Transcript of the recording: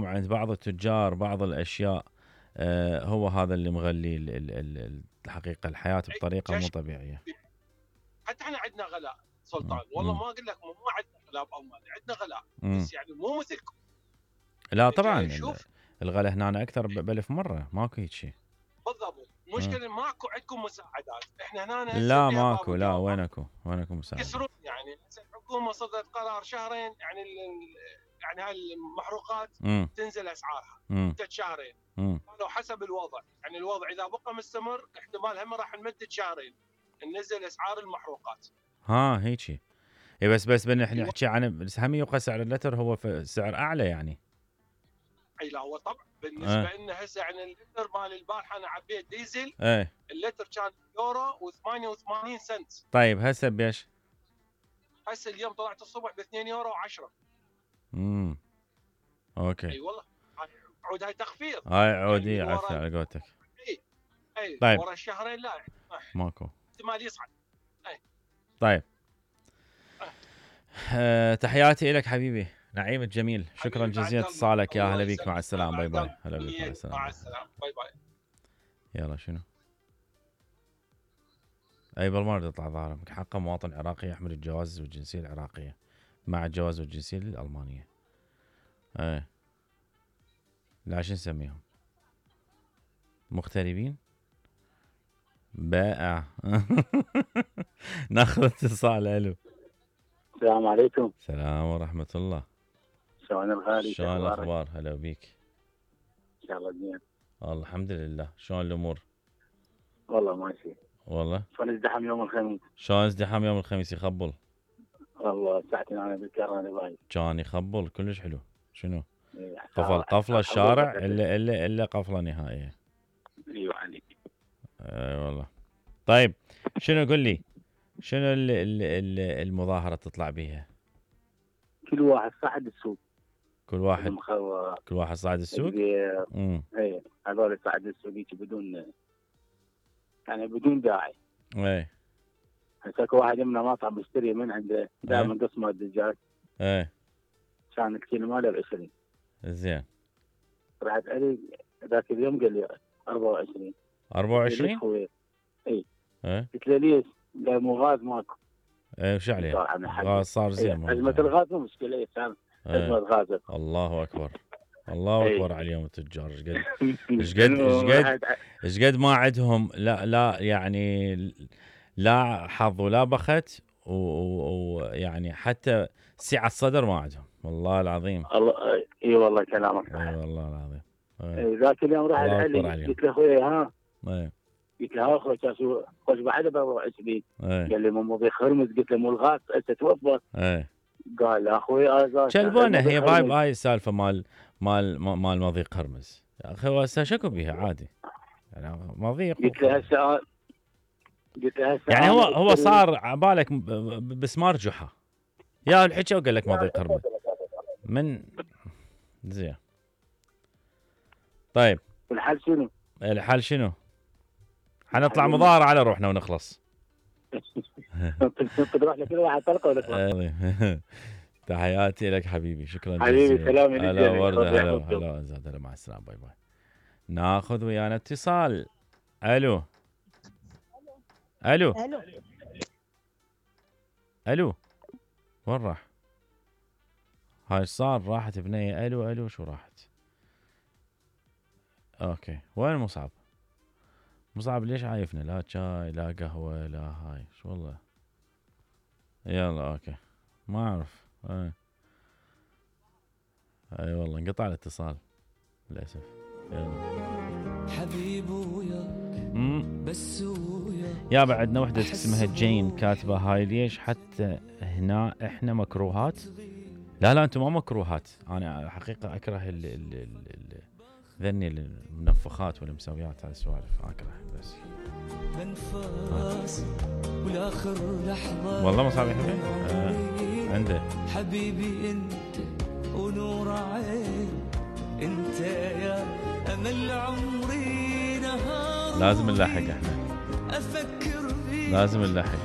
عند بعض التجار بعض الاشياء هو هذا اللي مغلي الحقيقه الحياه بطريقه مو طبيعيه. حتى احنا عندنا غلاء سلطان، والله ما اقول لك مو عندنا غلاء بالمانيا، عندنا غلاء بس يعني مو مثلكم. لا طبعا الغلاء هنا اكثر ب1000 مره، ماكو هيك شيء. بالضبط، المشكله ماكو عندكم مساعدات، احنا هنا لا ماكو، لا وينكم مساعدات؟ يكسرون يعني الحكومه صدرت قرار شهرين يعني هاي المحروقات تنزل اسعارها مدة شهرين. قالوا حسب الوضع، يعني الوضع اذا بقى مستمر احتمال هم راح نمدد شهرين ننزل اسعار المحروقات. هيك بس نحكي عن بس هم يبقى سعر اللتر هو سعر اعلى يعني. اي لا هو طبعا بالنسبه لنا هسه يعني اللتر مال البارحه انا عبيت ديزل اللتر كان يورو و88 سنت. طيب هسه بيش؟ هسه اليوم طلعت الصبح ب 2 يورو و10. اوكي. اي والله عود هاي تخفيض، هاي عودي يعني عفوا على قولتك. اي طيب ورا الشهرين لا ماكو احتمال يصعد. طيب تحياتي لك حبيبي نعيم الجميل، شكرا جزيلا اتصالك، يا هلا بيك، مع السلامه، باي باي. هلا بيك، مع السلامه، باي باي. يلا شنو؟ اي بالمره يطلع ظاهرك حقه مواطن عراقي يحمل الجواز والجنسيه العراقيه مع الجواز والجنسيه الالمانيه. لا شو نسميهم؟ مغتربين؟ بائع. ناخذ اتصال. الو السلام عليكم. السلام ورحمه الله. شلون الغالي؟ شلون الاخبار؟ هلا بيك. ان شاء الله زين. والله الحمد لله. شلون الامور؟ والله ماشي. والله شلون ازدحام يوم الخميس؟ شلون ازدحام يوم الخميس؟ يخبل والله ساعتين انا بالكار انا باي كان يخبل كلش حلو. شنو؟ قفله الشارع الا قفله نهائيه. ايوه عليك. والله. طيب شنو قل لي شنو المظاهره تطلع بيها؟ كل واحد صعد السوق. كل واحد صعد السوق. اي هذول صعد السوق بدون يعني بدون داعي. اي هسه واحد منا مطعم بيشتري من عنده دائما قسمه الدجاج. كان الكيلو ماله ب20. زين. رحت علي ذاك اليوم قال لي 24. 24؟ اي قلت له ليش؟ قال مو غاز ماكو. وش عليه؟ غاز صار زين. أزمة الغاز مو مشكلة، كان أزمة غاز. الله أكبر. الله أكبر على اليوم التجار. ايش قد ما عندهم لا يعني لا حظ ولا بخت ويعني حتى سعة صدر ما عندهم، والله العظيم. الله اي والله كلامك. اي والله العظيم. ذاك اليوم راح علي قلت له اخوي ها. قلت له اخوي شو خوش بعد ب 24. قال لي مو مضيق هرمز. قلت له مو الغاز هسه توفر. قال لا اخوي ازاز شلبونه هي هاي السالفه مال مضيق هرمز يا اخي. هسه شكو بيها عادي يعني مضيق. قلت له هسه يعني هو صار عبالك بسمار جحا يا الحكي وقال لك مضيق هرمز من زين. طيب الحل شنو؟ الحل شنو؟ حنطلع مظاهرة على روحنا ونخلص. تروح لكل واحد طلقه ونخلص. تحياتي لك حبيبي، شكرا جزيلا. حبيبي سلام. هلا ورده. هلا زاد. هلا مع السلامه. باي باي. ناخذ ويانا اتصال. الو الو الو وين راح؟ هاي صار راحت بنيه. الو شو راحت؟ اوكي وين مصعب؟ مصعب ليش عايفنا؟ لا شاي لا قهوه لا هاي شو والله. يلا اوكي ما اعرف. اي والله انقطع الاتصال للاسف. يلا حبيبي وياك بس وياك. يا بعدنا وحده اسمها جين كاتبه هاي ليش حتى هنا احنا مكروهات. لا انتم ما مكروهات. انا حقيقه اكره ذني المنفخات والمسويات هاي السوالف اكره بس. بنفاس والاخر لحظه والله ما صعب يا حبيبي. عنده حبيبي انت ونور عين انت يا امل عمري نهار. لازم نلاحق احنا. افكر لازم نلاحق.